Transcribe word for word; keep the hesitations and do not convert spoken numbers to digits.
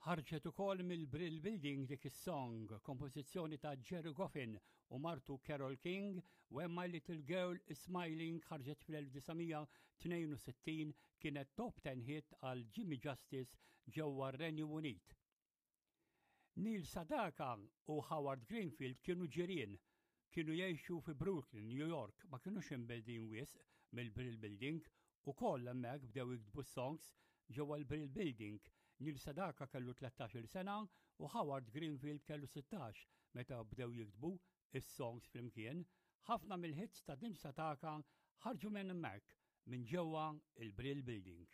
Ħarġet ukoll mill-Brill Building dik is-song, kompożizzjoni ta' Gerry Goffin u martu Carole King, When My Little Girl is Smiling ħarġet fl-elf disa' mija tnejn u sittin, kienet top ten hit għal Jimmy Justice ġewwa r-Renju Unit. Neil Sedaka u Howard Greenfield kienu ġirien, kienu jgħixu fi Brooklyn, New York, ma kienux imbegħdin wisq mill-Brill Building u koll hemmhekk bdew jiktbu songs ġewwa l-Brill Building. Neil Sedaka kellu tlettax-il sena u Howard Greenfield kellu sittax meta bdew jiktbu is-songs flimkien. Ħafna mill-hits ta' Neil Sedaka ħarġu minn hemmhekk, minn ġewwa il-Brill Building.